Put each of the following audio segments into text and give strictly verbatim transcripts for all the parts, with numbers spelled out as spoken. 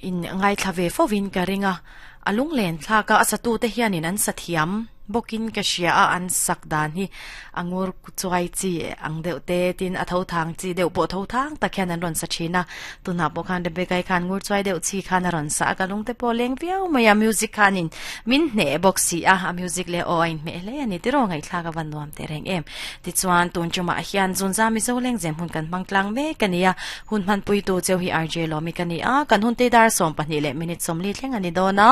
In ngai thlave fovin ka ringa alung len thlaka asatu te hianin an sathiam bokin ka hria a an sak dan hi angur chuai chi ang deuh te tin a tho thang chi deuh pawh tho thang tak hian an rawn sa thin a tuna pawh khan Rebecca khan ngur chuai deuh chi khan a rawn sa a ka lung te pawh leng viau mai a music khanin min hne bawk si a a music le aw a inhmeh hle ani tiraw ngaihthlak a van nuam teh reng em tichuan tun chungah hian zunza mizo leng zem hun kan hmang tlang mek ani a hun hman pui tu cheu hi R J Lawmi ka ni a kan hun te dar sawm pahnih leh minute sawmli thleng ani dawn a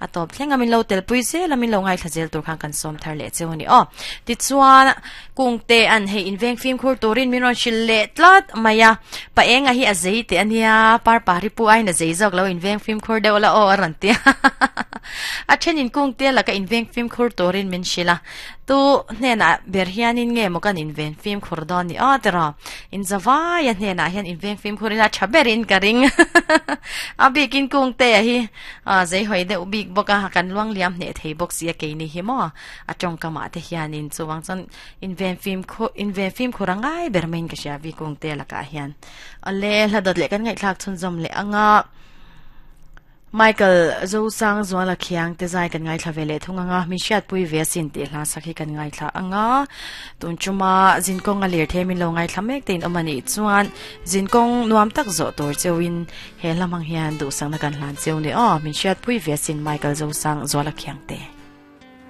a tawp thleng a min lo tel pui zel a min lo ngaithla zel tur khan kan sawm thar leh cheu ani aw tichuan kungte an hei inveng fim khur turin min rawn hrilh leh tlat mai a pa enga hi a zei teh ania par pari pu ain a zei zawk lo inveng fim khur deuh la aw a rawn ti a thenin kungte laka inveng fim khur turin min hrilh a tu hnenah ber hianin nge maw kan inven fim khur dawn ni aw tiraw inzawai a hnenah hian inveng fim khur ila tha berin ka ring a bikin kungte a hi a zei hawi deuh bik bawk a kan luang liam hneh thei bawk si a keini hi maw a tawngkamah te hianin chuwang chuan inven fim khu inven fim khur angai ber maiin ka hria vi kungte lakah hian ale hla dawt leh kan ngaihthlak chhunzawm leh anga Michael Zosang Zuala Khiang te zai kan ngaithla ve leh thung anga min hriatpui ve asin tih hla sak hi kan ngaithla anga tun chuma zinkawng a lir the min lo ngaithla mek te in awm anih chuan zinkawng nuam tak zawh tur cheuin he hla hmang hian duhsakna kan hlan cheu ni aw min hriatpui ve asin Michael Zosang Zuala Khiang te.